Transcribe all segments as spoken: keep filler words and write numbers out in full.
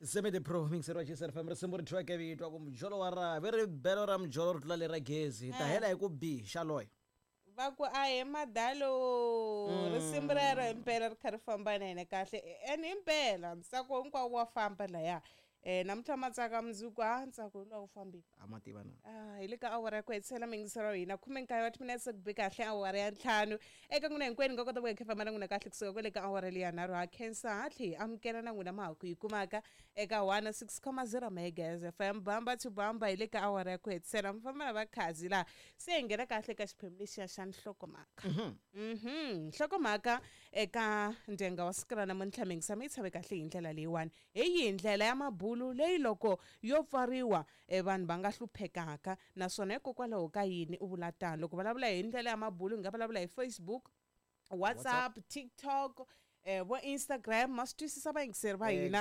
Semede pro mixer wa G S F M risimu ri thyiweke vito ku mujolo wa ravi ri belo ra mujolo ri tlula lera gezi hi ta hela hi ku b xaloya va ku a hi madalo risimu rero himpela ri kha ri famba na hina kahle and himpela ntsako hinkwawo wa famba laya eh namuntlha matsaka mundzuku a ntsako lowu fambile a ma tiva na ah hi le ka awara ya ku hetisela mingiselo wa hina khume nkaye wa timinetse ku bi kahle awara ya ntlhanu eka n'wina hinkwenu nga kota ku hi famba na n'wina kahle kusuka kwale ka awara leyi ya nharhu ha khensa ha tlhe hi amukela na n'wina ma ha ku yi kumaka eka one six comma zero megahertz F M bamba to bamba hi le ka awara ya ku hetisela mi famba na vakhazi laha se hi nghena kahle ka xiphemu lexiya xa nhlokomhaka mhm nhlokomhaka eka ndyenga wa siku ra namuntlha mingisa mi yi tshave kahle hi ndlela leyiwani hi yihi ndlela ya mabulu leyi loko yo pfariwa vanhu va nga hluphekaka naswona hikokwalaho ka yini u vula tano loko vulavula hi ndlela ya mabulu hi nga vulavula hi Facebook, WhatsApp, TikTok, eh vo Instagram ma swi twisisa vayingiseri va hina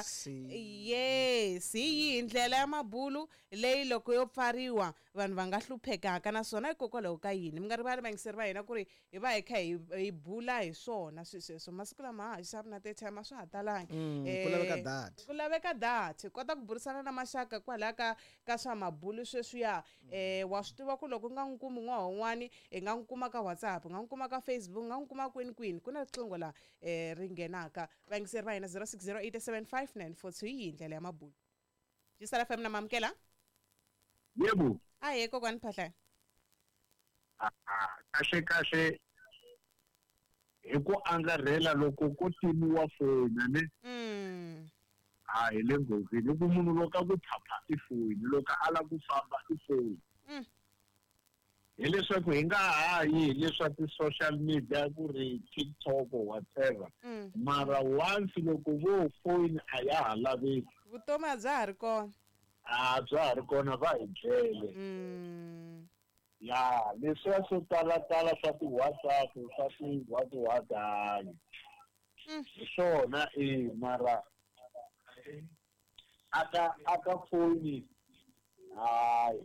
yes hi yihi ndlela ya mabulu leyi loko yo pfariwa vanhu va nga hluphekaka naswona hikokwalaho ka yini mi nga rivali vayingiseri va hina ku ri hi va hi kha hi hi bula hi swona swilo sweswo masiku lama ha xavi na ti-airtime a swa ha talangi ku laveka data ku laveka data hi kota ku burisana na maxaka kwalaya ka ka swa mabulu sweswiya eh wa swi tiva ku loko u nga n'wi kumi n'waha un'wani hi nga n'wi kuma ka WhatsApp hi nga n'wi kuma ka Facebook hi nga n'wi kuma kwini kwini ku na riqingho laha eh ri nghenaka vayingiseri va hina zero six zero eight seven five nine four two hi ndlela ya mabulu G S F M na mamukela yebo ahe kokwani Phahlane kahle kahle hi ku angarhela loko ko timiwa foni ne mm a hi le nghozini hi ku munhu loko a ku phapha i foni loko a lava ku famba i foni mm hileswaku hi nga ha yi hileswa ti-social media ku ri TikTok or whatever mm mara once loko vo foni a ya ha laveki vutomi a bya ha ri kona a bya ha ri kona va hi dlele mm ya leswiya swo talatala swa ti-WhatsApp swa ti-what what hayi Mm. hi swona e mara aka aka foni hayi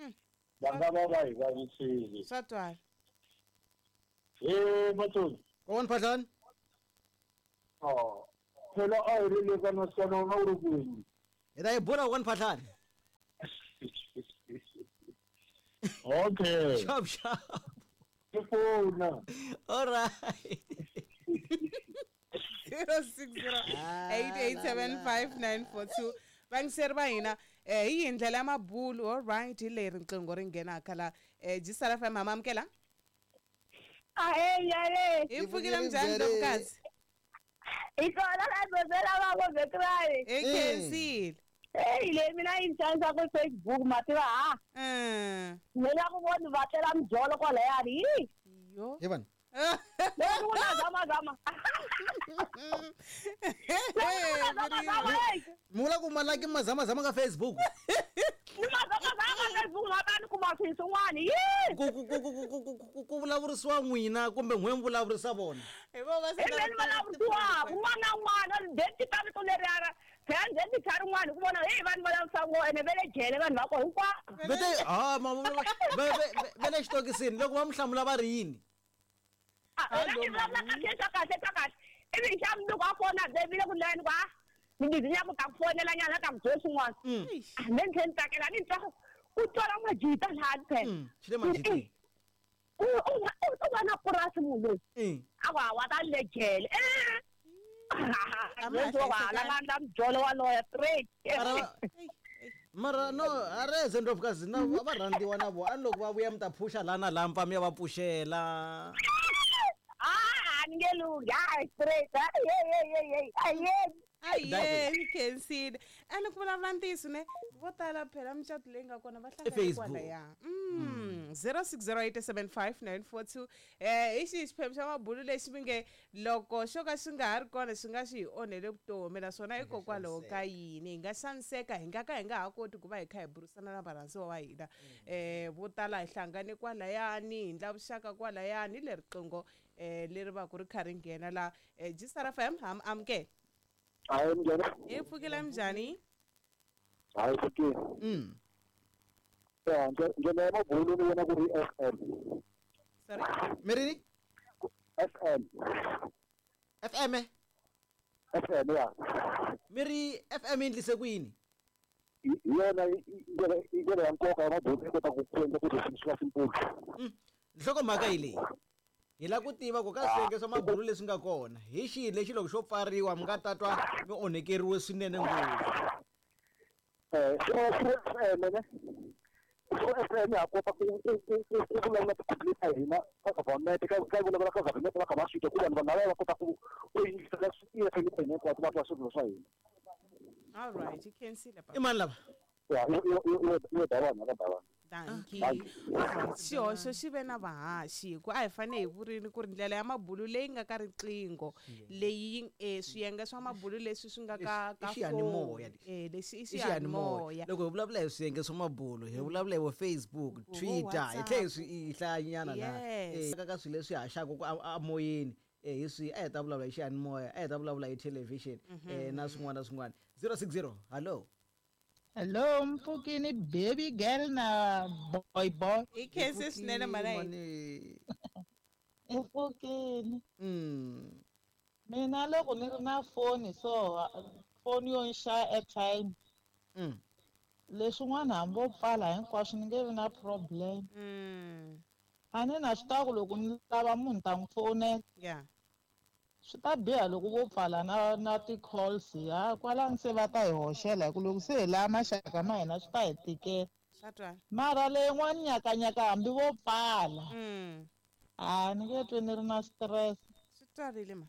Mm. va nga va va hi vavisile swa twala he Matsonga kokwani Phahlane oh phela a hi ri le ka naswona wena u ri kwini hi ta yi bula kokwani Phahlane okay xap xap ke fona all right zero six zero eight eight seven five nine four two vayingiseri va hina eh hi yihi ndlela ya mabulu all right hi leri riqingho ri nghenaka la eh G S F M ha mamukela Ahe njhani? hi pfukile minjhani Ndlovukazi Hi kona la dozela va vo Vekrani. hi khensile Hey le mina yi xanisa ku Facebook ma tiva ha. mm Ni la ku vona va tlela mujolo kwalayani. Hi. yo hi vanhu Le ku na zama zama. Zama zama hey. mi vula ku malaki mazamazama ka Facebook Ni ma zama zama Facebook ma ta ni kuma swilo swin'wana. Hi. ku ku ku ku ku ku ku ku vulavurisiwa n'wina kumbe n'we mi vulavurisa vona hi vo va Hi mina vulavuriwa un'wana na un'wana date ta vito leriya phela ndzeni tlha rin'wana hi ku vona hey vanhu va lavisa ngo ene va le jele vanhu va ko hinkwavo. vete ha ma va va va le xitokisini loko va mi hlamula va ri yini Ela ni vulavula kahle swa kahle swa kahle ivi hi xa mundzuku a fona vile ku layani ku a ni bizi nya ku ta ku fonela nyana ta ku byela swin'wana me ni tlhela ni tsakela ni twa ku twala majita lahani phela Mm, xi le majiteni u u u va na purasi munhu loyi Mm. a ku hawa ta le jele A ma ha la nga ndla mujolo waloya straight Mara va- mara no a reze Ndlovukazi na va rhandziwa na vona a ni loko va vuya mi ta phusha laha na laha mi pfa mi ya va pfuxela ah a ni nge lunghi hayi straight hey hey hey hey ayeni aye ni khensile ene ku vulavula ntiyiso ne vo tala phela micato leyi nga kona va hlangana Facebook. kwalaya mm zero six zero eight seven five nine four two eh hi xihi xiphemu xa mabulu lexi mi nge loko xo ka xi nga ha ri kona xi nga xi hi onhele vutomi naswona hikokwalaho ka yini hi nga xaniseka hi nga ka hi nga ha koti ku va hi kha hi burisana na varhandziwa va hina eh vo tala hi hlangane kwalayani hi ndla vuxaka kwalayani hi leri riqingho eh leri va ku ri kha ri nghena la eh G S F M ha mi amukela hayi njhani hi pfukile minjhani hayi pfukile mm ya ndlela ya mabulu ni vona ku ri F M sorry mi rini F M F M eh? F M ya. Mi ri F M yi endlise ku yini? Hi yona i ndlela ya nkoka ya mabulu yi kota ku endla ku swi va simple. Nhlokomhaka hi leyi. Hi lava ku tiva ku ka swiyenge swa mabulu leswi nga kona hi xihi lexi loko xo pfariwa mi nga ta twa mi onhekeriwe swinene ngopfu. Eh, F M ne? F M ya kota ku ku ku ku vulavula ti-complaint ta hina ka government ka ka vulavula ka government va kha va swi twa ku vanhu vanhu lava va kota ku ku yingisela swilo swa hina hinkwaswo va twa swilo swa hina. All right, you can see I mani lava? Ya, yo Davani ka Davani. Dankie. Xihoxo xi ve na vahaxi hi ku a hi fanele hi vurini ku ri ndlela ya mabulu leyi nga ka riqingho leyi eh swiyenge swa mabulu leswi swi nga ka ka xiyanimoya eh lexi i xiyanimoya. Loko hi vulavula hi swiyenge swa mabulu hi vulavula hi vo Facebook, Twitter, hi tlhe swi hi hlayanyana laha eh ka swilo leswi haxaka ku amoyeni eh hi swi a hi ta vulavula hi xiyanimoya, a hi ta vulavula hi television eh na swin'wana na swin'wana. zero six zero hello. Hello, Mpfukini baby girl na boy boy. I khense swinene mara hi. Mpfukini. Mm. Mina loko ni ri na foni so foni yo nxava airtime. Mm. Leswin'wana hambi vo pfala hinkwaswo ni nge vi na problem. Mm. A ni na swi tiva ku loko ni lava munhu ta n'wi fonela. Yeah. Swi ta biha loko vo pfala na na ti-calls ha kwalano se va ta hi hoxela hi ku loko se hi lava maxaka ma hina swi ta hi tikela. Mara leyin'wana nyakanyaka hambi vo pfala a ni nge twi ni ri na stress. Swi twarile ma.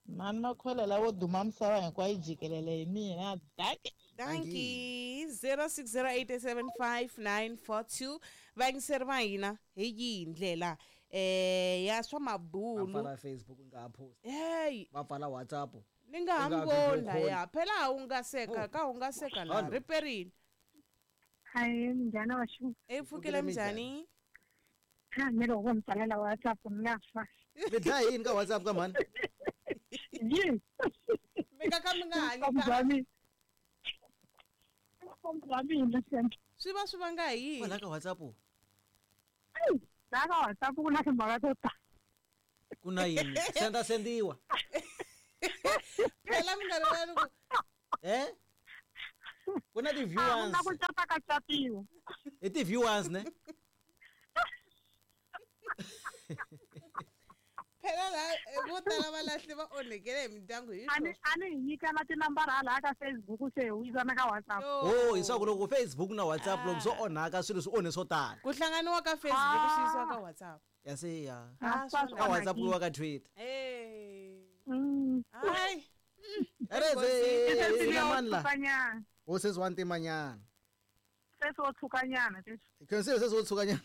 Mani makhwele lavo duma misava hinkwayo yi jikelele hi mina. Dankie. Dankie. zero six zero eight seven five nine four two vayingiseri va hina hi yihi ndlela eh ya swa mabulu. Va pfala Facebook nga ha post. Hey, va pfala WhatsApp. Ni nga ha voni laya. Phela wu nga seka ka wu nga seka la riperini. Hi, njhani wa xi? E pfukile njhani? Ha, ni loko mi pfalela WhatsApp mi nga fa. Mi dlaya yini ka WhatsApp ka mhani? Yini? Mi nga ka mi nga hanyi ka. Swi va swi vanga hi yini? Kwala ka WhatsApp. La ka WhatsApp ku na timhaka to tala. Ku na yini? Senda sendiwa. Phela mi nga ri ku eh? Ku na ti-viewers. Na ku cata ka catiwa. I ti-viewers ne? Phela la vo tala va lahli va onhekele hi mindyangu hi swona. A ni hi nyikana tinambara hala ka Facebook se hi wisana ka WhatsApp. Oh, hi swa ku loko Facebook na WhatsApp loko swo onhaka swilo swi onhe swo tala. Ku hlanganiwa ka Facebook swi yisiwa ka WhatsApp. Ya se ya. Ka WhatsApp ku yiwa ka Twitter. Eh. Mm. Hayi. Ereze mani la. O sesi wa ntimanyana. Sesi wo tshukanyana sesi. Khensile sesi wo tshukanyana.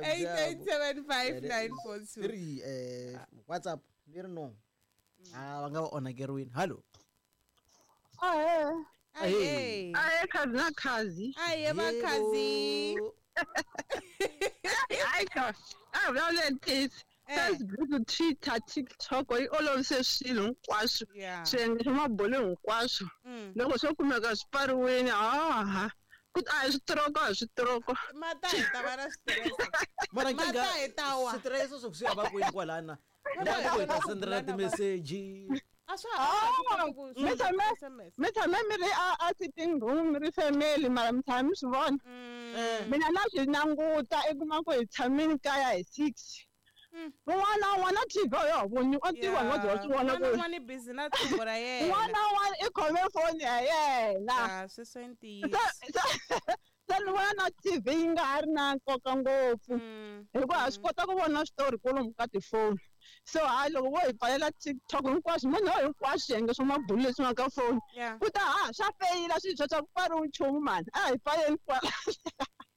eight eight seven five nine four two. Ri eh WhatsApp ni ri no. Ah va nga va onhakeriwini. Hello. Ahe. Ahe. Ahe khazi na khazi. Ahe va khazi. Hayi ka. A vulavula ntiyiso. Facebook, Twitter, TikTok yi olovise swilo hinkwaswo. Swiyenge swa mabulu hinkwaswo. Loko swo kumeka swi pfariwile ha ku a hi switiroko a hi switiroko. Mata hi ta va na switirese. Mara Mata hi ta wa. Switirese swo swi va kwini kwalana. Loko hi ta sendela ti-message. A swa ha mi tshame mi tshame mi ri a a sitting room mi ri family mara mi tshame mi swi vona. Mina na swi languta i kuma ku hi tshamile kaya hi six. Un'wana na un'wana T V ya ha voni a tiva no bya swi vona ku un'wana busy na tlhongo ra yena. Un'wana na un'wana i khome foni ya yena. Ah, sweswo i ntiyiso. Se ni vona na T V yi nga ha ri na nkoka ngopfu hikuva ha swi kota ku vona switori kwalomu ka tifoni. So hayi loko vo hi pfalela TikTok hinkwaswo munhu hinkwaswo swiyenge swa mabulu leswi nga ka foni ku ta ha swa feyila swilo swa ku pfariwi nchumu mani a hi pfaleni kwala.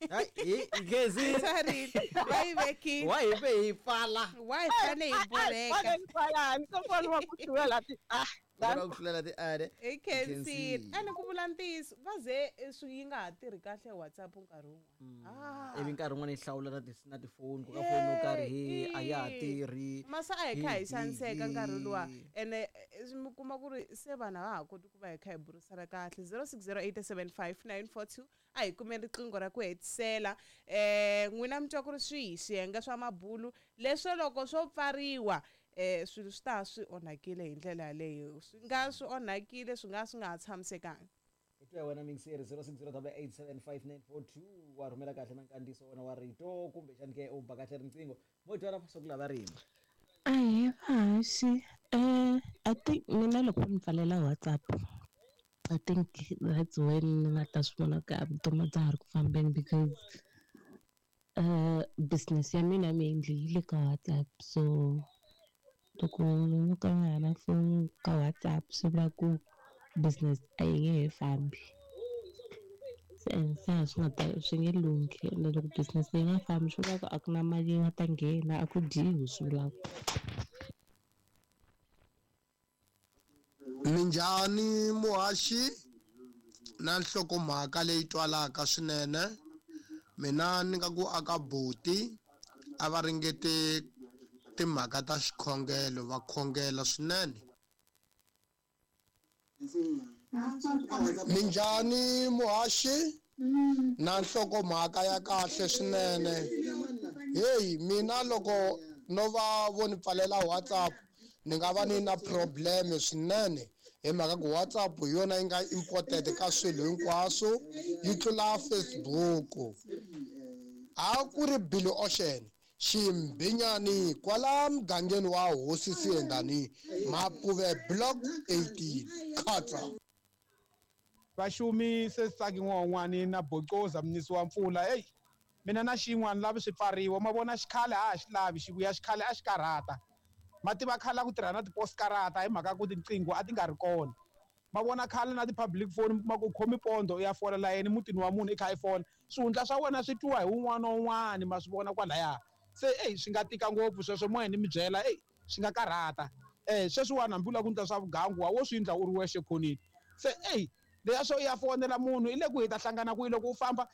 Hayi Gezi. Va yi vekile. Wa hi ve hi pfala. Wa hi fanele hi borheka. Pfaleni kwalani ko foni wa ku hlula ti ah. Va ku hlulela ti are. I khensile. Ene ku vula ntiyiso va ze swi yi nga ha tirhi kahle WhatsApp nkarhi wun'wana. Ivi nkarhi wun'wana yi hlawula na ti na tifoni ku ka foni yo karhi hi a ya ha tirhi Masa a hi kha hi xaniseka nkarhi luwa ene mi kuma ku ri se vanhu a va ha koti ku va hi kha hi burisana kahle. zero six zero eight seven five nine four two a hi kumeni riqingho ra ku hetisela. Eh n'wina mi twa ku ri swihi swiyenge swa mabulu leswo loko swo pfariwa eh swilo swi ta swi onhakile hi ndlela yaleyo, swi nga swi onhakile swi nga swi nga ha tshamisekanga. Hi wena mingiseri zero six zero eight seven five nine four two wa rhumela kahle na nkandziyiso wena wa rito kumbexani ke u ba kahle riqingho mo twa swa ku lava rima. Ahee vahaxi, eh I think mina loko ni pfalela WhatsApp I think that's when ni nga ta swi vona ku a vutomi bya ha ri ku fambeni because uh business ya mina mainly yi le ka WhatsApp, so loko no ka nga ha na foni ka WhatsApp swi vula ku business a yi nge he fambi. Se and se a swi nga ta swi nge lunghi, ende loko business yi nga fambi swi vula ku a ku na mali yi nga ta nghena, a ku dyiwi swi vula ku. Minjhani muhaxi na nhlokomhaka leyi twalaka swinene. Mina ni nga ku aka buti a va ringete timhaka ta xikhongelo va khongela swinene. Minjhani muhaxi na nhlokomhaka ya kahle swinene. Hey mina loko no va vo ni pfalela WhatsApp ni nga va ni na problem swinene hi mhaka ku WhatsApp hi yona yi nga important ka swilo hinkwaswo yi tlula Facebook. A ku ri Billy Ocean Ximbinyani kwala mugangeni wa Hosi Siyendani Mapuve block eighteen Khatsa. Vaxumi se tsaki n'wan'wani na bocoza mnisi wa mpfula. Ey mina na xin'wana lavi swi pfariwa ma vona xikhale a xi lavi xivuya xikhale a xi karhata. Ma tiva khale ku tirha na ti-postkarata hi mhaka ku tinqingho a ti nga ri kona. Ma vona khale na ti-public phone mi kuma ku khomi pondo u ya fola layeni mutini wa munhu i kha i fona swihundla swa wena swi twiwa hi wun'wana na wun'wana ma swi vona kwalaya. Se ey swi nga tika ngopfu sweswo moya ni mi byela ey swi nga karhata. Eh sweswiwani hambi u lava ku endla swa vugangu wa wo swi endla u ri wexe khoneni. Se ey leya swo ya fonela munhu i le ku hi ta hlangana kwihi loko u famba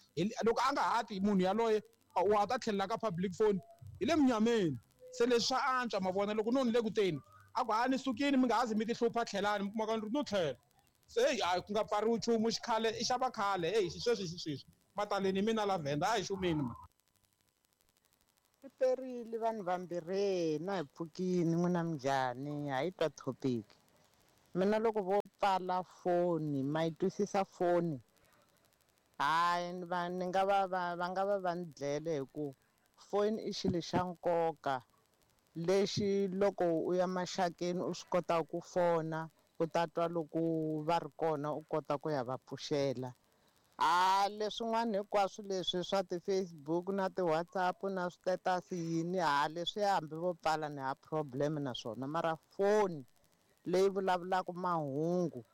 loko a nga ha ti munhu yaloye wa ta tlhelela ka public phone hi le munyameni. Se leswi swa antswa ma vona loko no ni le ku teni a ku ha ni sukile mi nga ha zi mi ti hlupha tlhelani mi kuma ka ni ri no tlhela. Se hey a ku nga pfariwi nchumu xikhale i xava khale hey xisweswi xisweswi mataleni mina Lavenda a hi xumini ma. Swi perile vanhu vambirhi na hi pfukini n'wina minjhani ha yi twa topic. Mina loko vo pfala foni ma yi twisisa foni hayi va ni nga va va va nga va va ni dlele hi ku foni i xilo xa nkoka lexi loko u ya maxakeni u swi kota ku fona u ta twa loko va ri kona u kota ku ya va pfuxela. A leswin'wana hinkwaswo leswi swa ti-Facebook na ti-WhatsApp na swi-status yini ha leswi hambi vo pfala ni ha problem na swona mara foni leyi vulavulaka mahungu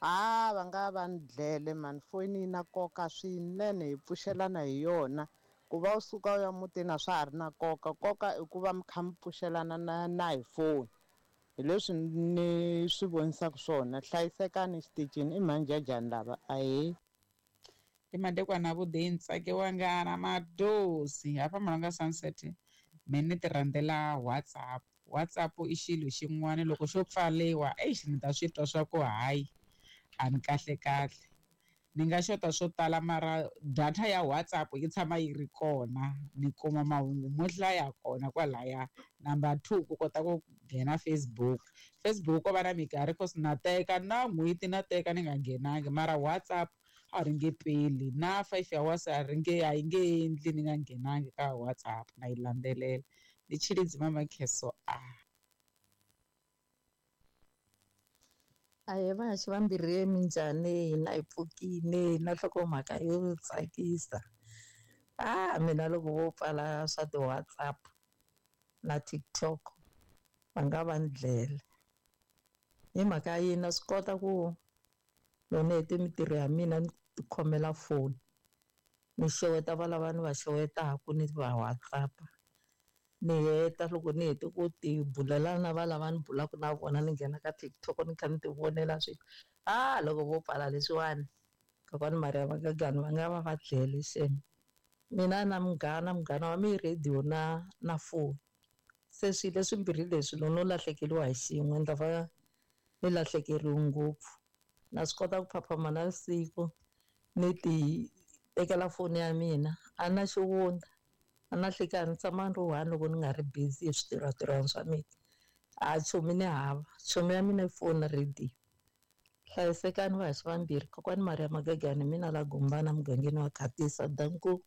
a va nga va ni dlele mani. Foni yi na nkoka swinene hi pfuxelana hi yona. Ku va u suka u ya mutini a swa ha ri na nkoka, nkoka i ku va mi kha mi pfuxelana na na hi foni. Hi leswi ni swi vonisaka swona. Hlayisekani xitichini i mhanjhajhani lava ahee. I madekwana avuḓi ntsake wanga na madosi hafha Malunga Sunset me ni ti rhandzela WhatsApp. WhatsApp i xilo xin'wana loko xo pfaliwa eish ni ta swi twa swa ku hayi a ni kahle kahle. Ni nga xota swo tala mara data ya WhatsApp yi tshama yi ri kona ni kuma mahungu mo hlaya kona kwalaya. Number two ku kota ku nghena Facebook. Facebook ko va na minkarhi cause na teka na n'hweti na teka ni nga nghenangi mara WhatsApp a ri nge peli na five hours a ri nge a yi nge endli ni nga nghenangi ka WhatsApp na yi landzelela. Ni Tshilidzi Mamakheso a. Ahee vahaxi vambirhi minjhani hina hi pfukile na nhlokomhaka yo tsakisa. Ah mina loko vo pfala swa ti-WhatsApp na TikTok va nga va ni dlele. Hi mhaka yini na swi kota ku loko ni hete mintirho ya mina ni tikhomela foni ni xeweta valava ni va xewetaka ni va WhatsApp ni heta loko ni hete ku ti bulela na valava ni bulaka na vona ni nghena ka TikTok ni kha ni ti vonela swilo. Ah loko vo pfala leswiwani kokwani Maria Vakagani va nga va va dlele xem. Mina na munghana munghana wa mi radio na na foni Se swilo leswimbirhi leswi loko no lahlekeriwa hi xin'we ni ta va ni lahlekeriwe ngopfu. Na swi kota ku phaphama navusiku ni ti tekela foni ya mina, a na xivundza, a na nhlekani, ni tshama ni ri one loko ni nga ri busy hi switirhwatirhwani swa mina. A chomi ni hava, chomi ya mina i foni na radio. Hlayisekani vahaxi vambirhi, kokwani Maria Magagani, mina la Gombana mugangeni wa Khatisa. Danko.